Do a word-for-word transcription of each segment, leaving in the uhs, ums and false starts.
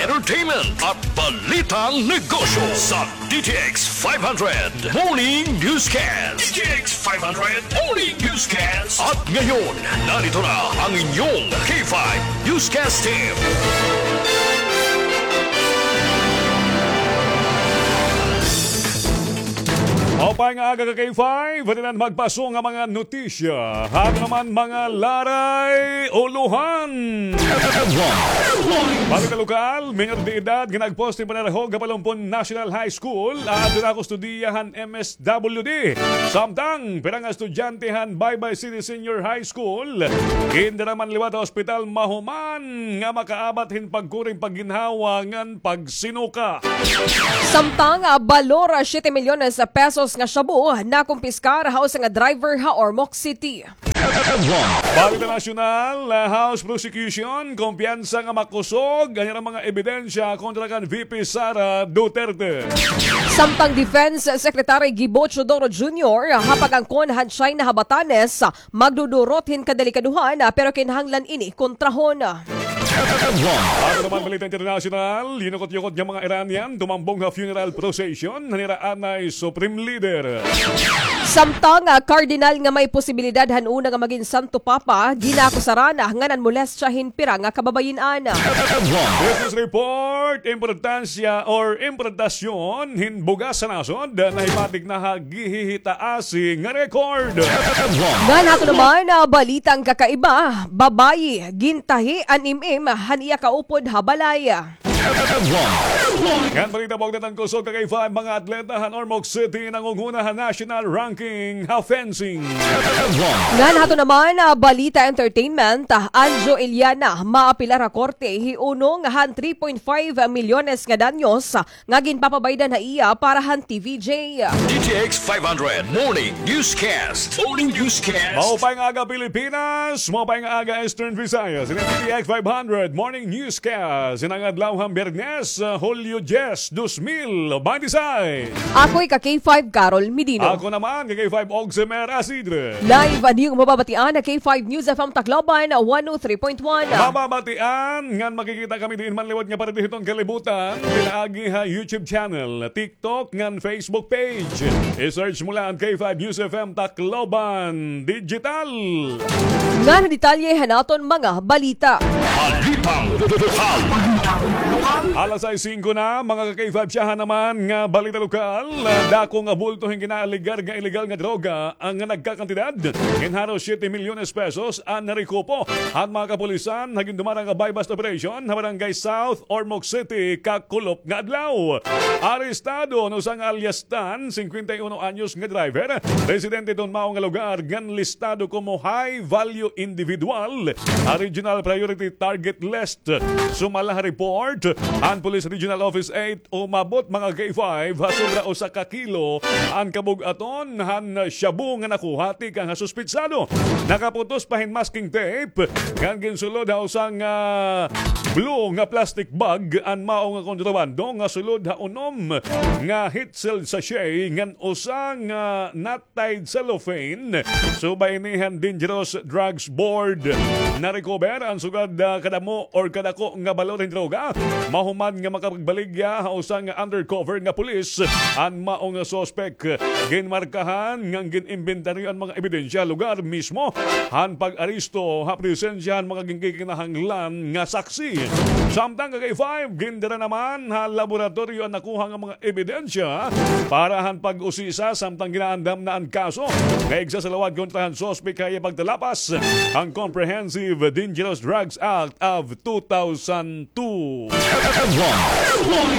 entertainment at balitang negosyo sa D T X five hundred Morning Newscast. D T X five hundred Morning Newscast. At ngayon, narito na ang inyong K five Newscast Team. Maupay nga aga ka K five, ito na magpaso nga mga notisya. Ato naman mga laray, ulohan. Balita lokal, minor de edad nga nagposte panarahog ha Palumpon National High School, aadto na kustudiya han M S W D. Samtang, pira nga estudyante han Baybay City Senior High School, gindara man liwat ha ospital mahuman nga makaabat hin pagkuri hin pagginhawa ngan pagsinuka. Samtang, ah, balor, ah, siyete milyones pesos nga shabu nakumpiskar ha usa nga driver ha Ormoc City. Balita nasyonal, ah, House Prosecution, kumpiyansa nga makusog an ira mga ebidensya kontra kan V P Sara Duterte. Samtang Defense Secretary Gibo Teodoro Junior, ah, ha pag-angkon han China ha Batanes, ah, magdudurot hin kadelikadohan, ah, pero kinahanglan ini kontrahon. Ato naman balita internasyonal, yinukot-yukot nga mga Iranian tumambong ha funeral procession han ira anay Supreme Leader. Samtang, ah, kardinal nga may posibilidad han una nga magin Santo Papa, ginakusaran nga nanmolestya hin pira nga kababayin-an. Business report, importansya or importasyon hin bugas sa nasod, nahibatik na ha gihihitaasi nga record. Ngan ato naman, ah, balitang kakaiba, babayi, gintahi an im-im han iya kaupod ha balay. Ngan balita bugnaw han kusog ka K five, mga atleta han Ormoc City nangunghuna ha national ranking ha fencing. Ngan ato naman, ah, balita entertainment, ah, Anjo Iliana, maapilar ha korte, hiunong han three point five milyones nga danyos, ah, nga ginpapabaydan ha iya para han T V J. D T X five hundred Morning Newscast. Morning Newscast. Maupay nga aga, Pilipinas. Maupay nga aga, Eastern Visayas. Ini D T X five hundred Morning Newscast. Ini nga adlaw han Biyernes, ah, Hulyo diyes, dos mil baynte sais. Ako hi ka K five Carol Medino. Ako naman, ka K five Oximer Asidre. Live an iyo mababatian ha K five News F M Tacloban, one oh three point one. Mababatian ngan makikita kami diin man liwat nga parte hiton kalibutan, pinaagi ha YouTube channel, TikTok, ngan Facebook page. I-search mo la an K five News F M Tacloban Digital. Ngan detalye han aton mga balita. Balitang lokal. Alas sais singko na, mga ka K five, syahan naman nga balita lokal. Dako nga bulto hin ginaaligar nga iligal nga droga an nga nagkakantidad hin haros siyete milyones pesos an narekupo han mga kapulisan ha gindumarang nga buy-bust operation ha Barangay South, Ormoc City, kakulop nga adlaw. Arestado an usa nga alias Tan, singkwenta y uno anyos nga driver, residente hiton mao nga lugar, ngan listado komo high value individual ha Regional Priority Target List. Sumala ha report han Police Regional Office eight, umabot, mga K five, ha sobra usa ka kilo an kabug-aton han shabu nga nakuha tikang ha suspetsado. Nakaputos pa hin masking tape ngan ginsulod ha usa nga blue nga plastic bag an mao nga kontrabando nga sulod ha unom nga heat-sealed sachet ngan usa nga knot-tied cellophane. Subay ini han Dangerous Drugs Board, na-recover an sugad, ah, kadamo or kadako nga balor hin droga. Mahuman nga makapagbaligya ha usa nga undercover nga pulis an mao nga suspek. Ginmarkahan ngan gin-imbentaryo an mga ebidensya lugar mismo han pag-aresto ha presensya han mga ginkikinahanglan nga saksi. Samtang, ka K five, gindara naman ha laboratoryo an nakuha nga mga ebidensya para han pag-usisa, samtang ginaandam na an kaso nga igsasalawad kontra han suspek ha iya pagtalapas han Comprehensive Dangerous Drugs Act of two thousand two.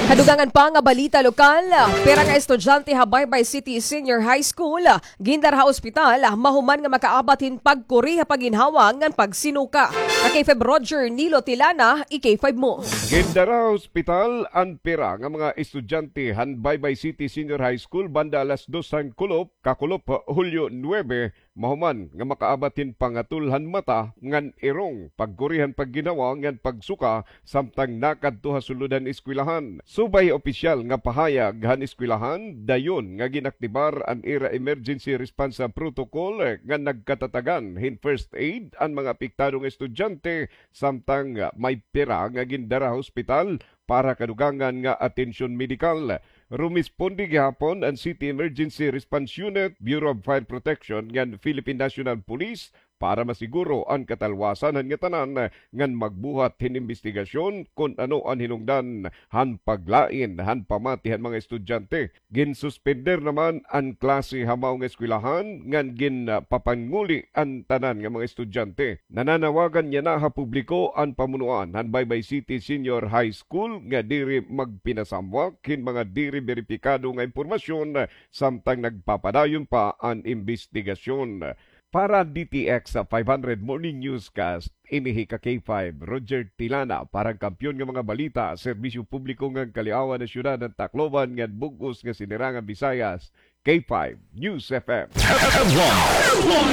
Ha dugangan pa nga balita lokal, pira nga estudyante ha Baybay City Senior High School gindara ha ospital mahuman nga makaabat hin pagkuri ha pagginhawa ngan pagsinuka. Ka K five Roger Nilo Tilana, i-K five mo. Gindara ha ospital an pira nga mga estudyante han Baybay City Senior High School banda alas dos han kulop, kakulop, Hulyo nuebe, mahuman nga makaabat hin pangatul han mata ngan irong, pagkuri han pagginhawa ngan pagsuka samtang nakadto ha sulod han eskwelahan. Subay opisyal nga pahayag han eskwelahan, dayon nga ginaktibar an ira emergency response protocol nga nagkatatagan hin first aid an mga apektado nga estudyante, samtang may pira nga gindara ha ospital para kadugangan nga atensyon medikal. Rumisponde gihapon an City Emergency Response Unit, Bureau of Fire Protection ngan Philippine National Police para masiguro an katalwasan han ngatanan ngan magbuhat hin imbestigasyon kon ano an hinungdan han paglain han pamati han mga estudyante. Ginsuspender naman an klase ha mao nga eskwelahan ngan ginpapanguli an tanan nga mga estudyante. Nananawagan yana ha publiko an pamunuan han Baybay City Senior High School nga diri magpinasamwak hin mga diri beripikado nga impormasyon samtang nagpapadayon pa an imbestigasyon. Para D T X five hundred Morning Newscast, ini hi ka K five, Roger Tilana, para han Kampiyon nga mga balita, serbisyo publiko ngan kaliawan han syudad han Tacloban ngan bug-os nga sinirangan Visayas, K five News F M.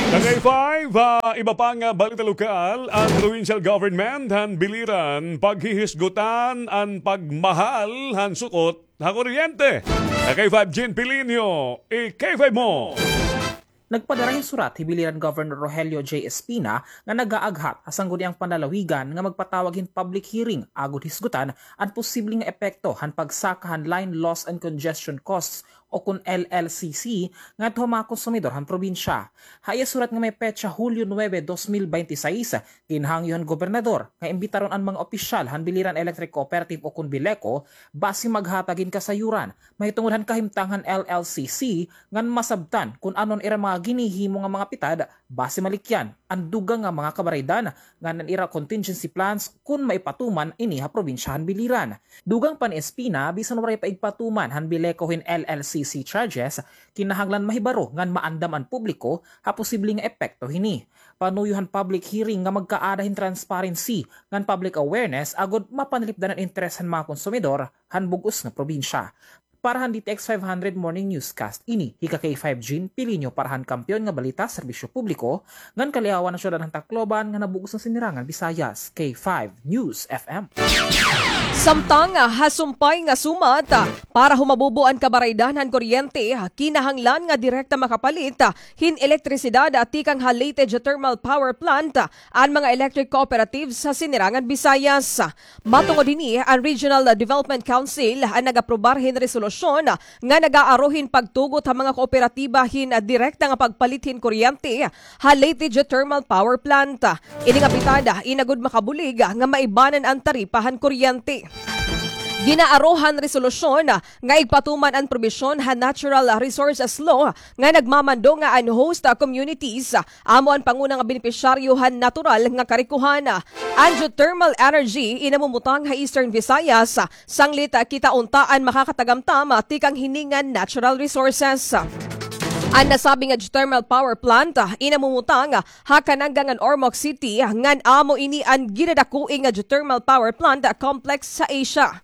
Ka K five, ah, iba pa nga balita lokal, an provincial government han Biliran paghihisgutan an pagmahal han sukot ha kuryente. Ka K five Jean Pilinio, i-K five mo. Nagpadara hin surat hi Biliran Governor Rogelio J Espina nga nagaaghat ha Sangguniang Panlalawigan nga magpatawag hin public hearing agod hisgutan an posible nga epekto han pagsaka han Line Loss and Congestion Costs o kon L L C C ngadto ha mga konsumidor han probinsya. Ha iya surat nga may petsa Hulyo nuebe, dos mil bente seis, ginhangyo han gobernador nga imbitaron an mga opisyal han Biliran Electric Cooperative o kon Bileco basi maghatag hin kasayuran mahitungod han kahimtang han L L C C ngan masabtan kon ano an ira mga ginhihimo nga mga pitad basi malikyan an dugang nga mga kabaraydan ngan an ira contingency plans kon maipatuman ini ha probinsya han Biliran. Dugang pa ni Espina, bisan waray pa igpatuman han Bileco hin L L C C charges, kinahanglan mahibaro ngan maandam an publiko ha posible nga epekto hini. Panuyo han public hearing nga magkaada hin transparency ngan public awareness agod mapanlipdan an interes han mga konsumidor han bug-os nga probinsya. Para han D T X five hundred Morning Newscast, ini hi ka K five Jean Pilinio para han Kampiyon nga Balita, Serbisyo Publiko, ngan kaliawan han syudad han Tacloban ngan ha bug-os nga sinirangan Visayas, K five News F M. Samtang, ah, ha sumpay nga sumat, ah, para humabubo an kabaraydan han kuryente, ah, kinahanglan nga direkta makapalit, ah, hin elektrisidad, ah, tikang ha Leyte Geothermal Power Plant, ah, an mga electric cooperatives sa Sinirangan Visayas. Matungod hini, an Regional Development Council an nag-aprobar hin resolusyon nga nag-aaro hin pagtugot ha mga kooperatiba hin direkta nga pagpalit hin kuryente ha Leyte Geothermal Power Plant. Ini nga pitad, inagod makabulig nga maibanan an taripa han kuryente. Ginaaro han resolusyon nga igpatuman an probisyon han Natural Resources Law nga nagmamando nga an host communities amo an panguna nga benepisyaryo han natural nga karikohan. An geothermal energy in namumutang ha Eastern Visayas, sanglit kita unta an makakatagamtam tikang hini nga natural resources. An nasabi nga geothermal power plant in namumutang ha Kananga ngan Ormoc City, ngan amo ini an ginadakoi nga geothermal power plant complex sa Asia.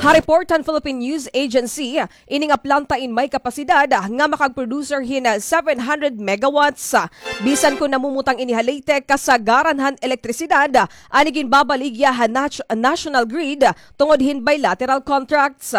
Ha report han Philippine News Agency, ini nga planta in may kapasidad nga makagproducer hin seven hundred megawatts. Bisan kon namumutang ini ha Leyte, kasagaran han elektrisidad an iginbabaligya ha nat-, national grid tungod hin bilateral contracts.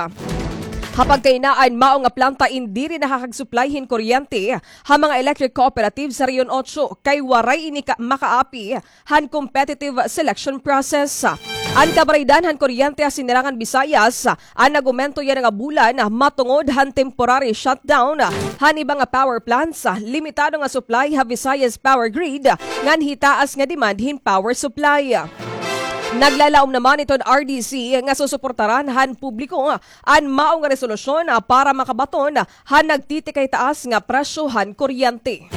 Ha pagkahinaan, mao nga planta in diri nakakagsuplay hin kuryente ha mga electric cooperatives sa Region Ocho, kay waray ini ka-, makaapi han competitive selection process. An kabaraydan han kuryente ha Sinirangan Visayas an nag-umento yana nga bulan matungod han temporary shutdown han iba nga power plants, limitado nga supply ha Visayas Power Grid, ngan hitaas nga demand hin power supply. Naglalaom naman iton R D C nga susuportaran han publiko an mao nga resolusyon, ah, para makabaton han nagtitikay taas nga presyo han kuryente.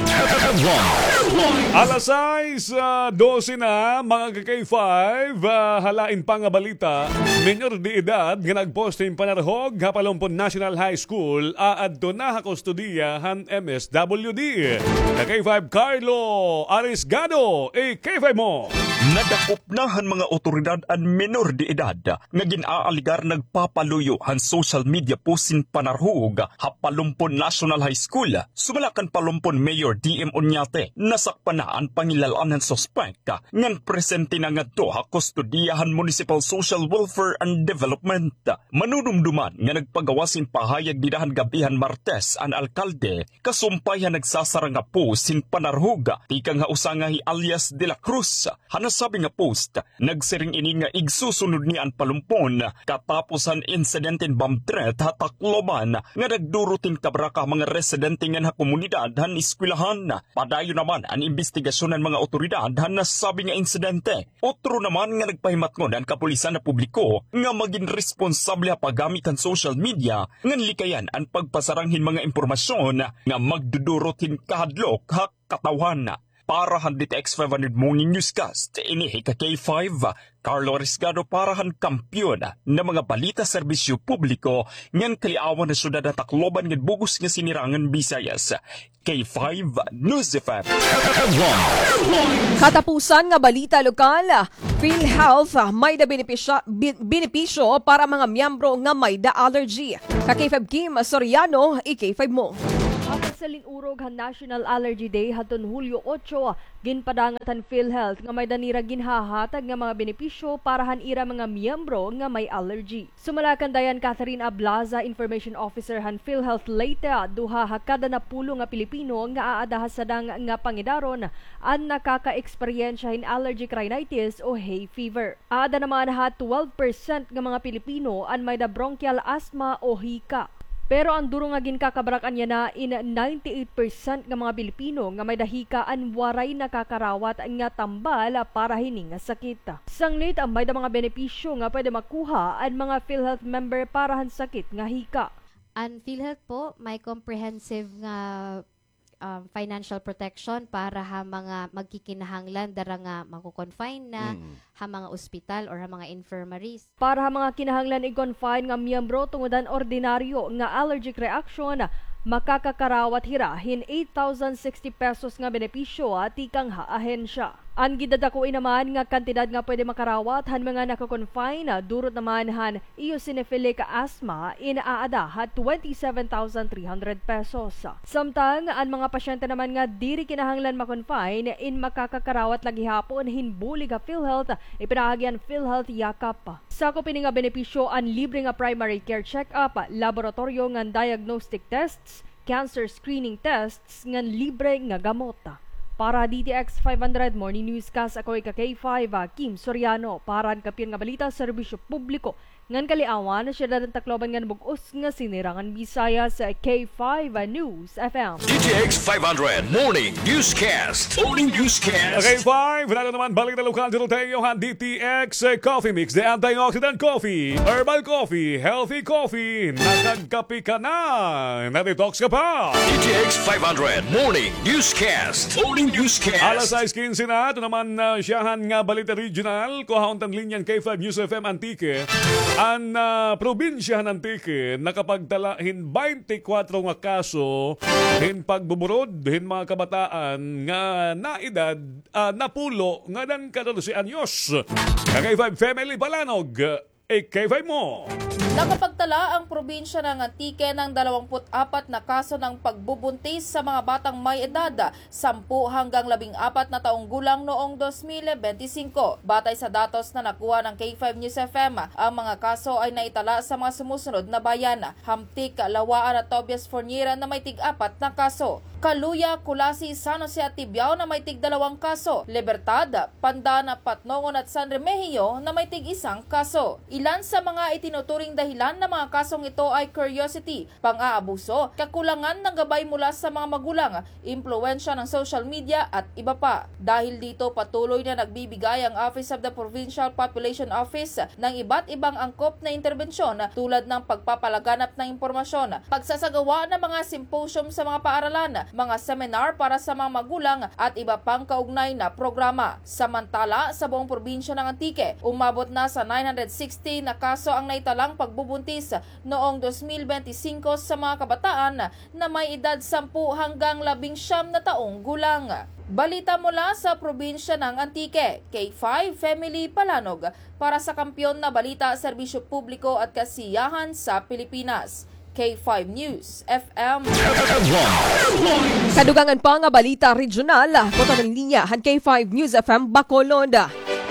Alas sais, ah, dose na, mga ka K five, ah, ha lain pa nga balita, menyor de edad nga nagpost hin panarhog ha Palompon National High School aadto na ha kustodiya han M S W D. Ka K five Carlo Arisgado, i-K five mo. Nadakop na han mga awtoridad an menor de edad nga gin-aaligar nagpapaluyo han social media post hin panarhog ha Palompon National High School. Sumala kan Palompon Mayor D M Oñate, nasakpan na an pangilal-an han suspek ngan presente na ngadto ha kustodiya han Municipal Social Welfare and Development. Manunumduman nga nagpagawas hin pahayag dida han gab-i han Martes an alkalde kasumpay han nagsasara nga post hin panarhog tikang ha usa nga hi alias De La Cruz. Ha nasabi nga post, nagse- Siring ini nga igsusunod niya an palumpon katapos han insidente hin bomb threat ha Tacloban nga nagdurot hin kabaraka ha mga residente ngan ha komunidad han eskwelahan. Padayon naman an imbestigasyon han mga awtoridad han nasabi nga insidente. Otro naman nga nagpahimatngon an kapulisan ha publiko nga magin responsable ha paggamit han social media ngan likayan an pagpasarang hin mga impormasyon nga magdudurot hin kahadlok ha katawhan. Para han D T X five hundred Morning Newscast, ini hi ka K five, Carlo Risgado para han kampiyon nga mga balita serbisyo publiko ngan kaliawan ha syudad ha Tacloban ngan bug-os nga sinirangan Visayas. K five News F M. Katapusan nga balita lokal, PhilHealth, ah, may-da benepisya-, bi-, benepisyo para mga miyembro nga may-da allergy. Ka K five Kim Soriano, i K five mo. Apan sa lin-urog han National Allergy Day hadton Hulyo otso, ginpadangat han PhilHealth nga may-da nira ginhahatag nga mga benepisyo para han ira mga miyembro nga may allergy. Sumala kan Diane Catherine Ablaza, Information Officer han PhilHealth Leyte, duha ha kada napulo nga Pilipino nga aada ha sadang nga pangedaron an nakaka-eksperyensya hin allergic rhinitis o hay fever. Aada naman ha twelve percent nga mga Pilipino an may-da bronchial asthma o hika. Pero an duro nga ginkakabarak-an yana in ninety-eight percent nga mga Pilipino nga may-da hika an waray nakakarawat nga tambal para hini nga sakit. Sanglit, may-da mga benepisyo nga pwede makuha an mga PhilHealth member para han sakit nga hika. An PhilHealth po may comprehensive nga, um, financial protection para ha mga magkikinahanglan dara nga mako-confine na ha mga ospital or ha mga infirmaries. Para ha mga kinahanglan i-confine nga miyembro tungod han ordinaryo nga allergic reaction, makakakarawat hira hin eight thousand sixty pesos nga benepisyo tikang ha ahensya. An gidadakoi naman nga kantidad nga pwede makarawat han mga nako-confine, durot naman han eosinophilic asthma in aada ha twenty-seven thousand three hundred pesos. Samtang an mga pasyente naman nga diri kinahanglan ma-confine in makakakarawat la gihapon hin bulig ha PhilHealth, ipinaagi han PhilHealth Yakap. Sakop ini nga benepisyo an libre nga primary care check-up, laboratoryo ngan diagnostic tests, cancer screening tests ngan libre nga gamot. Para D T X five hundred Morning Newscast, ako ika K five, ah, Kim Soriano. Para han kampiyon nga balita, serbisyo publiko ngan kaliawan, syudad han Tacloban ngan bug-os nga sinirangan Visayas, K five News F M. D T X five hundred Morning Newscast. Morning Newscast. K five, wala na naman balik na lokal dito tayo ha D T X Coffee Mix, the antioxidant coffee, herbal coffee, healthy coffee, nakagkape ka na, na-detox ka pa. D T X five hundred Morning Newscast. Morning Newscast. Alas sais kinse na, ito naman, ah, siyahan nga balita regional, kuhaon tan linya han K five News F M Antique. An, ah, probinsya han Antique nakapagtala hin baynte kwatro nga kaso hin pagbuburod hin mga kabataan nga naedad, ah, napulo ngadan katorse anyos. Ka K five Family Palanog, eh, K five mo. Nakapagtala an probinsya ng Antique ng dalawampu't apat na kaso ng pagbubuntis sa mga batang may edad sampu hanggang labing apat na taong gulang noong dos mil benti singko. Batay sa datos na nakuha ng K five News F M, ang mga kaso ay naitala sa mga sumusunod na bayan: Hamtic, Lawaan at Tobias Fornier na may tig-apat na kaso. Caluya, Culasi, San Jose at Tibiao na may tig-dalawang kaso. Libertad, Pandan, Patnongon at San Remigio na may tig-isang kaso. Ilan sa mga itinuturing dahilan ng mga kasong ito ay curiosity, pang-aabuso, kakulangan ng gabay mula sa mga magulang, impluwensya ng social media at iba pa. Dahil dito, patuloy na nagbibigay ang Office of the Provincial Population Office ng iba't ibang angkop na interbensyon tulad ng pagpapalaganap ng impormasyon, pagsasagawa ng mga symposium sa mga paaralan, mga seminar para sa mga magulang at iba pang kaugnay na programa. Samantala, sa buong probinsya ng Antique, umabot na sa nine hundred sixty na kaso ang naitalang pagbubuntis noong dos mil benti singko sa mga kabataan na may edad sampu hanggang labing siyam na taong gulang. Balita mula sa probinsya ng Antique, K five Family Palanog, para sa kampiyon na balita, serbisyo publiko at kasiyahan sa Pilipinas. K five News F M. Kadugangan pa nga balita regional, kutob an linya han K five News F M Bacolod.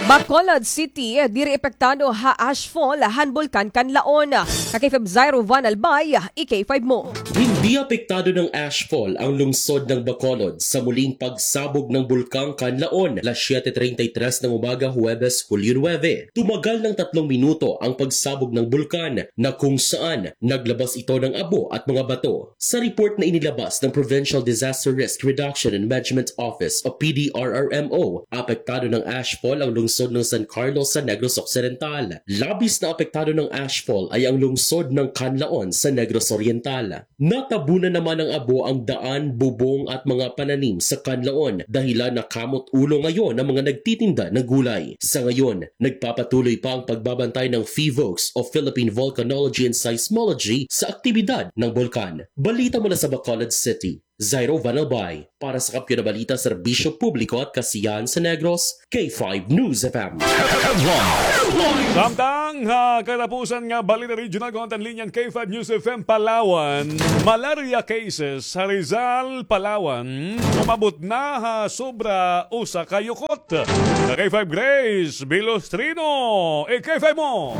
Bacolod City, diri epektado ha ashfall han Bulkan Kanlaon. Ka K five Zairo Van Albay, i K five mo. Hindi Apektado ng ashfall ang lungsod ng Bacolod sa muling pagsabog ng Bulkang Kanlaon, alas siyete treinta y tres ng umaga, Huwebes, Hulyo nuebe. Tumagal ng tatlong minuto ang pagsabog ng bulkan na kung saan naglabas ito ng abo at mga bato. Sa report na inilabas ng Provincial Disaster Risk Reduction and Management Office o P D R R M O, apektado ng ashfall ang lungsod ng San Carlos sa Negros Occidental. Labis na apektado ng ashfall ay ang lungsod ng Kanlaon sa Negros Oriental. Natabunan naman ng abo ang daan, bubong at mga pananim sa Kanlaon, dahilan na kamot ulo ngayon ang mga nagtitinda ng gulay. Sa ngayon, nagpapatuloy pa ang pagbabantay ng PHIVOLCS o Philippine Volcanology and Seismology sa aktibidad ng bulkan. Balita mula sa Bacolod City, Zairo Van Albay, para sa Kampiyon na Balita, Serbisyo Publiko at Kasiyahan sa Negros, K five News F M. Headlines. Samtang ha katapusan nga balita regional, kuan ta an linya han K five News F M Palawan, malaria cases ha Rizal, Palawan, umabot na ha sobra usa ka yukot. Ka K five Grace Bilostrino, i-K five mo.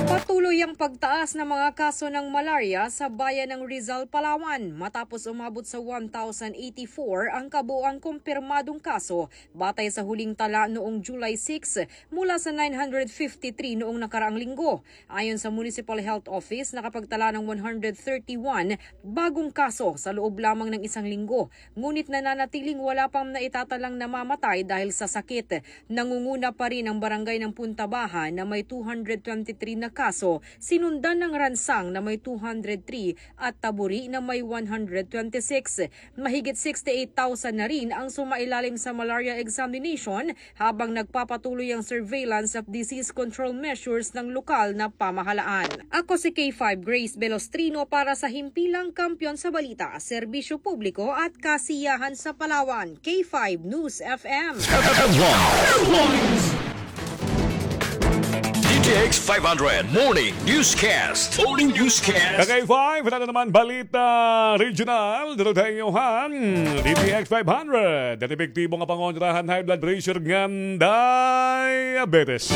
Patuloy ang pagtaas ng mga kaso ng malaria sa bayan ng Rizal, Palawan, matapos umabot sa one thousand eighty-four ang kabuuang kumpirmadong kaso, batay sa huling tala noong July six, mula sa nine hundred fifty-three noong nakaraang linggo. Ayon sa Municipal Health Office, nakapagtala ng one hundred thirty-one bagong kaso sa loob lamang ng isang linggo, ngunit nananatiling wala pang naitatalang namamatay dahil sa sakit. Nangunguna pa rin ang barangay ng Punta Baja na may two hundred twenty-three na kaso, sinundan ng Ransang na may two hundred three at Taburi na may one hundred twenty-six. Mahigit sixty-eight thousand na rin ang sumailalim sa malaria examination habang nagpapatuloy ang surveillance at disease control measures ng lokal na pamahalaan. Ako si K five Grace Belostrino para sa Himpilang Kampiyon sa Balita, Serbisyo Publiko at Kasiyahan sa Palawan, K five News F M. Headlines. D T X five hundred Morning Newscast. Morning Newscast. Ka K five, ito naman balita regional. Dito tayo han D T X five hundred. Dati epektibo nga pangontra han high blood pressure ngan diabetes.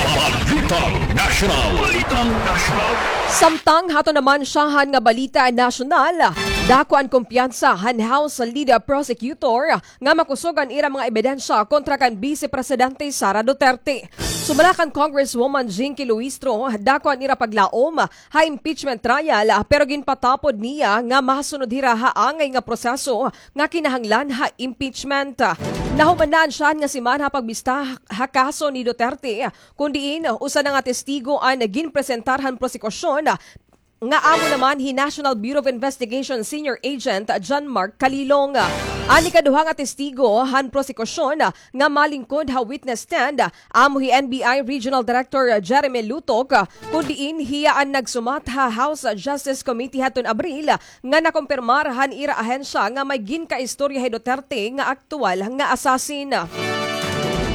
Balitang Nasyonal. Balitang Nasyonal. Samtang hato naman syahan nga balita nasyonal, dako an kumpiyansa han House Lead Prosecutor nga makusog an ira mga ebidensya kontra kan Vice Presidente Sara Duterte. Sumala kan Congresswoman Jinky Luistro, dako an ira paglaom ha impeachment trial, pero ginpatapod niya nga masunod hira ha angay nga proseso nga kinahanglan ha impeachment. Nahuman na an syahan nga semana ha pagbista ha kaso ni Duterte, kun diin usa na nga testigo an ginpresentar han prosekusyon, nga amo naman hi National Bureau of Investigation Senior Agent John Mark Calilong. An ikaduha nga testigo han prosekusyon nga malingkod ha witness stand, amo hi N B I Regional Director Jeremy Lutok, kun diin hiya an nagsumat ha House Justice Committee hadton Abril nga nakumpirmar han ira ahensya nga may ginkaistorya hi Duterte nga aktuwal nga assassin.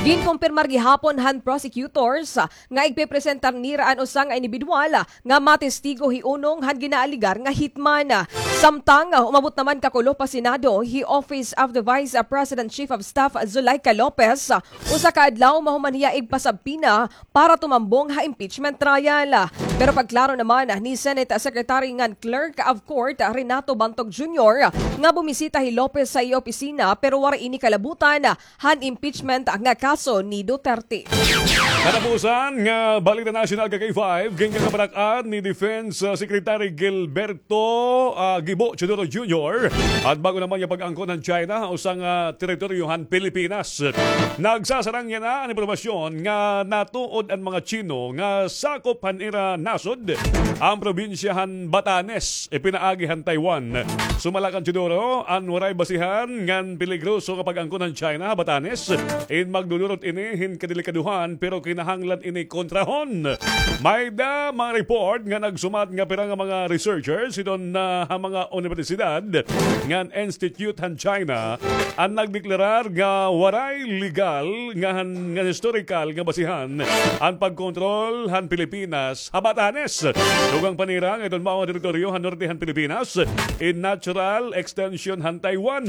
Ginkumpirmar gihapon han prosecutors nga igpepresentar nira an usa nga indibidwal nga matestigo hiunong han ginaalegar nga hitman. Samtang umabot naman kakulop ha Senado hi Office of the Vice President Chief of Staff Zuleika Lopez, usa ka adlaw mahuman hiya igpasubpoena para tumambong ha impeachment trial. Pero pagklaro naman ni Senate Secretary ngan Clerk of Court Renato Bantog Junior nga bumisita hi Lopez sa iya opisina pero waray ini kalabutan han impeachment nga kaso ni Duterte. Katapusan nga balita nasyonal ka K five, ginkakabarak-an ni Defense, ah, Secretary Gilberto, ah, Gibo Teodoro Junior, an bag-o naman nga pag-angkon han China ha usa nga teritoryo han Pilipinas. Nagsasarang yana an impormasyon nga natuod an mga Chino nga sakop han ira nasod an probinsya han Batanes, ipinaagi han Taiwan. Sumala kan Teodoro, an waray basihan ngan peligroso nga pag-angkon han China ha Batanes, in magdudurot ini hin kadelikadohan, pero kinahanglan ini kontrahon. Mayda mga report nga nagsumat nga pira nga mga researchers hiton na ha mga unibersidad ngan institute han China an nagdeklarar nga waray legal nga han, ngan historical nga basihan an pagkontrol han Pilipinas ha Batanes. Dugang pa nira nga iton mao nga teritoryo han norte han Pilipinas, in natural extension han Taiwan,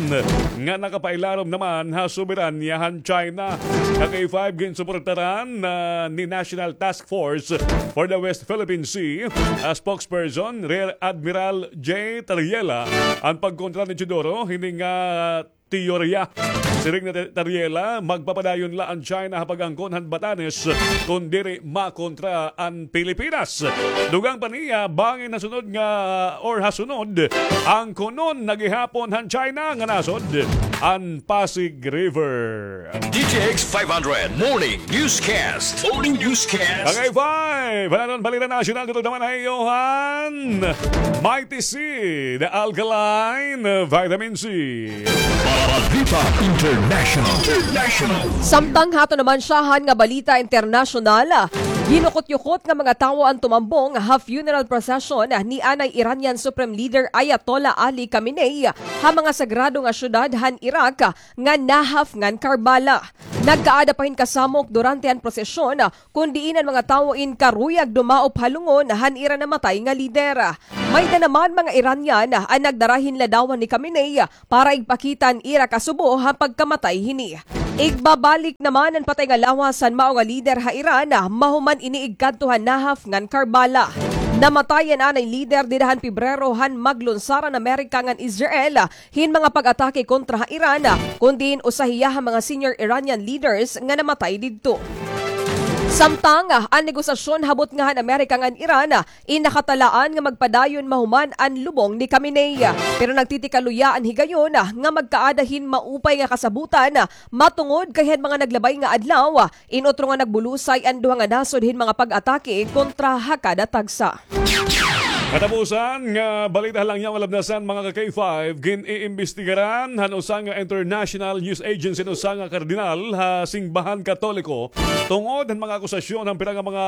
nga nakapailarom naman ha soberanya han China. Ka K five, ginsuportaran na ni National Task Force for the West Philippine Sea, ah, spokesperson Rear Admiral J Tariela an pagkontra ni Teodoro hini nga teorya. Siring ni Tariela, magpapadayon la an China ha pag-angkon han Batanes kon diri makontra an Pilipinas. Dugang pa niya, bangin ha sunod nga, or ha sunod, angkonon na gihapon han China nga nasod an Pasig River. D T X five hundred Morning Newscast. Morning Newscast. Tagay five, pananon balita nasyonal dito naman ha iyo han Mighty C, the alkaline vitamin C. Balita International. International. Samtang hato naman syahan nga balita internasyonal, ginukot-yukot nga mga tawo an tumambong ha funeral procession ni anay Iranian Supreme Leader Ayatollah Ali Khamenei ha mga sagrado nga syudad han Iraq nga Nahaf ngan Karbala. Nagkaada pa hin kasamok durante an prosesyon, kon diin an mga tawo in karuyag dumaop ha lungon han ira namatay nga lider. May-da naman mga Iranian an nagdara hin ladawan ni Khamenei para igpakita an ira kasubo ha pagkamatay hini. Igbabalik naman an patay nga lawas han mao nga lider ha Iran, mahuman ini igkadto ha Nahaf ngan Karbala. Namatay an anay lider dida han Pebrero han maglunsar an Amerika ngan Israel hin mga pag-atake kontra ha Iran, kon diin usa hiya ha mga senior Iranian leaders nga namatay didto. Samtang, ah, an negosasyon ha butnga han Amerika ngan Iran, ah, in nakatalaan nga magpadayon mahuman an lubong ni Khamenei. Pero nagtitikaluya an higayon, ah, nga magkaada hin maupay nga kasabutan, ah, matungod kay han mga naglabay nga adlaw, ah, in utro nga nagbulusay an duha nga nasod hin mga pag-atake kontra ha kada tagsa. Katapusan nga balita ha langyaw nga labnasan, mga ka K five, gin-iimbestigaran han usa nga international news agency an usa nga kardinal ha singbahan Katoliko tungod han mga akusasyon han pira nga mga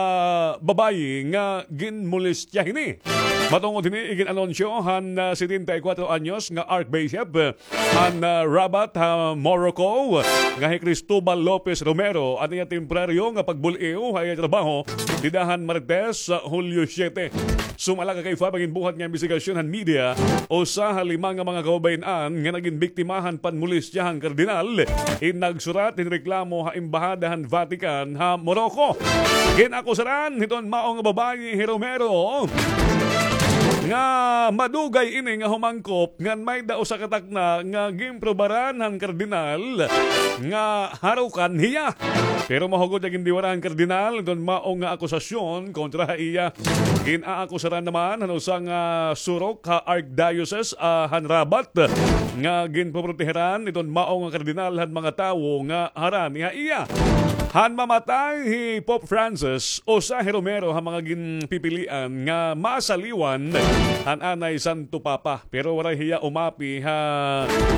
babayi nga ginmolestya hini. Matungod hini, igin-anunsyo han, ah, setenta y kuwatro anyos nga Archbishop, ah, han, ah, Rabat ha Morocco, nga hi Cristobal Lopez Romero, an iya temporaryo nga pagbul-iw ha iya trabaho dida han Martes, ah, Hulyo siyete. Sumala ka K five an ginbuhat nga imbestigasyon han media, usa ha lima nga mga kababayen-an nga nagin biktima han panmolestya han kardinal in nagsurat hin reklamo ha Embahada han Vatican ha Morocco. Gin-akusaran hiton mao nga babayi hi Romero nga madugay ini nga humangkop ngan may-da usa ka takna nga ginprobaran han kardinal nga harukan hiya. Pero mahugod nga gindiwara han kardinal iton mao nga akusasyon kontra ha iya. Gin-aakusaran naman han usa nga surok ha Archdiocese, ah, han Rabat nga ginpoproteheran iton mao nga kardinal han mga tawo nga harani ha iya. Han mamatay hi Pope Francis, usa hi Romero ha mga ginpipilian nga masaliwan han anay Santo Papa. Pero waray hiya umapi ha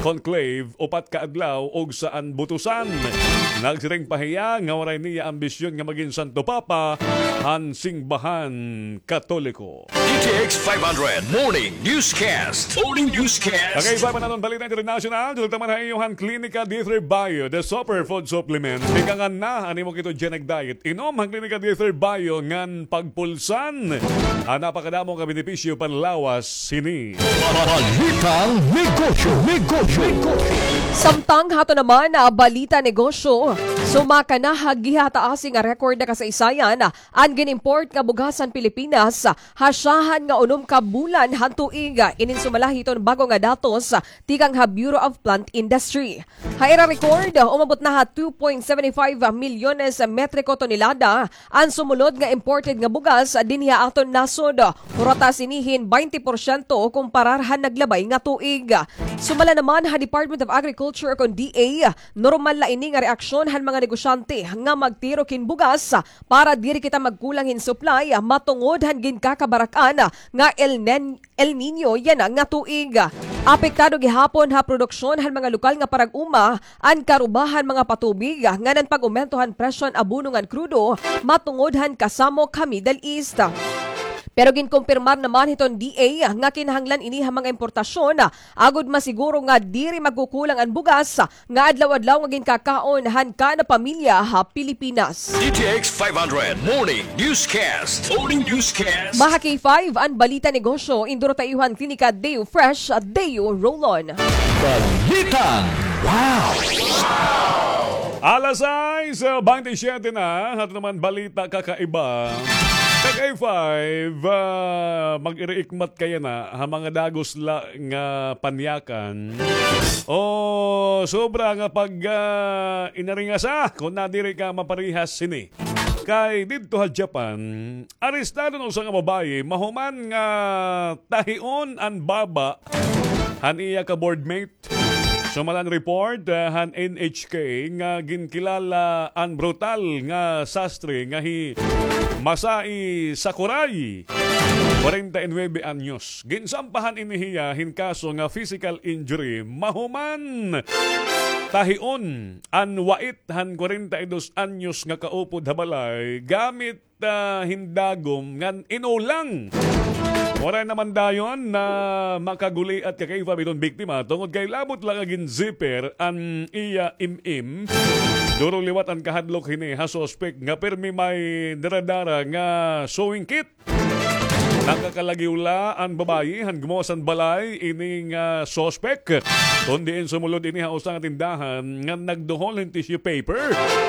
conclave upat ka adlaw ug sa an butusan. Nagsiring pa hiya nga waray niya ambisyon nga magin Santo Papa han singbahan Katoliko. D T X five hundred Morning Newscast. Morning Newscast. Tagay five, pananon balita international, dulog ta man ha iyo han Klinika D three Bio, the superfood supplement. Tikangan na an imo ketogenic diet. Inom han Klinika D three Bio ngan pagpulsan an napakadamo nga benepisyo panlawas hini. Balitang negosyo, negosyo, negosyo. Samtang hato naman, ah, balita negosyo, sumaka na ha gihataasi nga record nga kasaysayan, ah, an gin-import nga bugas han Pilipinas, ah, ha syahan nga unom ka bulan han tuig. Inin sumala hiton bag-o nga datos, ah, tikang ha Bureau of Plant Industry. Ha ira record, umabot na ha two point seven five milyones metriko tonelada an sumulod nga imported nga bugas dinhi ha aton nasod. Puro ta sini hin baynte porsyento kumparar han naglabay nga tuig. Sumala naman ha Department of Agriculture o kon D A, normal la ini nga reaksyon han mga negosyante nga magtirok hin bugas para diri kita magkulang hin supply matungod han ginkakabarak-an nga El Nin-, El Niño yana nga tuig. Apektado gihapon ha produksyon han mga lokal nga parag-uma an karuba han mga patubig ngan an pag-umento han presyo han abono ngan krudo matungod han kasamok ha Middle East. Pero ginkumpirmar naman hiton D A nga kinahanglan ini ha mga importasyon, agod masiguro nga diri magkukulang an bugas nga adlaw-adlaw nga ginkakaon han kada pamilya ha Pilipinas. D T X five hundred Morning Newscast. Morning Newscast. Maha K five, an balita negosyo, induro ta iyo han klinika Deo Fresh, Deo Roll-On. Balitang Wow! Alas sais, ah, baynte siyete na, aton naman balita kakaiba. Kag A five, ah, mag-iriikmat kaya na ha mga dagos la nga panyakan. O sobra nga pag, ah, inaringasa, kon nadiri ka maparehas sini. Kay didto ha Japan, arestado an usa nga babaye mahuman nga tahion an baba han iya ka boardmate. Sumala han report, ah, han N H K nga ginkilala an brutal nga sastre nga hi Masai Sakurai, kwarenta y nuebe anyos. Ginsampahan ini hiya hin kaso nga physical injury mahuman tahion an wait han kwarenta y dos anyos nga kaupod ha balay gamit, ah, hin dagom ngan inulang. Waray naman dayon na makaguliat ka kay hiton biktima tungod kay labot la nga ginzipper an iya im-im. Duro liwat an kahadlok hini ha suspek nga pirmi may dara-dara nga sewing kit. Nakakalagiw la an babaye han gumawad han balay ini nga suspek, kon diin sumulod ini ha usa nga tindahan nga nagduhol hin tissue paper.